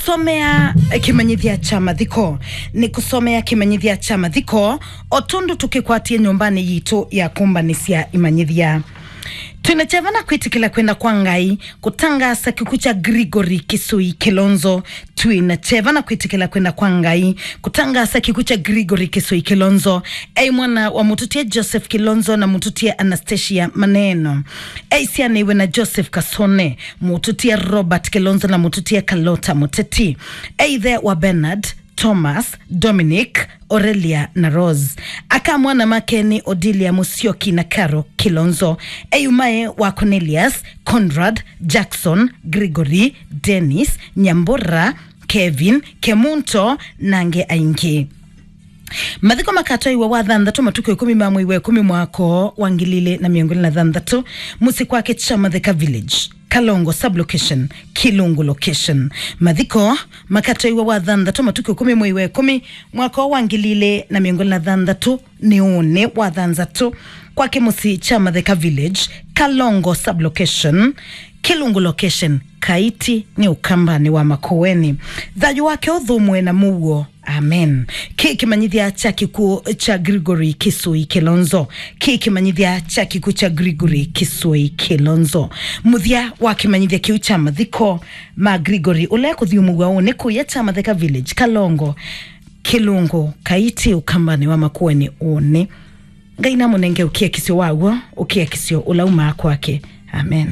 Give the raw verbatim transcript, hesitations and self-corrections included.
Kũsomea kĩmanyĩthya kya mathiko. Nĩ kũsomea kĩmanyĩthya kya mathiko, o tondũ tũkĩkwatie nyũmbanĩ yitũ ya kũmbanĩsya imanyĩthya. Twĩna kyeva na kwĩtĩkĩla kwenda kwa Ngai kũtangaasa kĩkw'ũ kya Gregory Kĩsũi Kĩlonzo. Twĩna kyeva na kwĩtĩkĩla kwenda kwa Ngai kũtangaasa kĩkw'ũ kya Gregory Kĩsũi Kĩlonzo. Ei mwana wa mũtũtie Joseph Kĩlonzo na mũtũtie Anastasia Maneno. Ei syanĩiwe na Joseph Kasone, mũtũtie Robert Kĩlonzo na mũtũtie Kalota Mũteti. Ei ithe wa Bernard, Thomas, Dominic, Aurelia na Rose. Aka mwana make nĩ Odilia Musyoki na Caro Kĩlonzo. Ei umae wa Cornelius, Conrad, Jackson, Gregory, Dennis, Nyambura, Kevin, Kemunto, na angĩ aingĩ. Mathiko makatwaiwa wa thanthatũ matukũ ĩkũmi ma mwei wa ĩkũmi mwaka wa ngili ilĩ na mĩongo ĩlĩ na thanthatũ, mũsyĩ kwake Kyamatheka Village, Kalongo Sublocation, Kilungu Location. Mathiko makatwaiwa wa thanthatũ matukũ ĩkũmi mwei wa ĩkũmi mwaka wa ngili ilĩ na mĩongo ĩlĩ na thanthatũ, nĩ ũnĩ wa thanthatũ, kwake mũsyĩ Kyamatheka Village, Kalongo Sublocation, Kilungu Location, Kaiti nĩ Ũkambanĩ wa Makueni. Thayũ wake ũthũmũe na mũuo. Amen. Kĩ kĩmanyĩthya kya kĩkw'ũ kya Gregory Kĩsũi Kĩlonzo. Kĩ kĩmanyĩthya kya kĩkw'ũ kya Gregory Kĩsũi Kĩlonzo. Mũthya wa kĩmanyĩthya kĩu kya mathiko ma Gregory, ũla kũthyũmũw'a ũnĩ kũya Kyamatheka Village, Kalongo, Kilungu, Kaiti, Ũkambanĩ wa Makueni ũnĩ. Ngai namũnenge ũkiakisyo waw'o, ũkiakisyo ũla umaa kwake. Amen.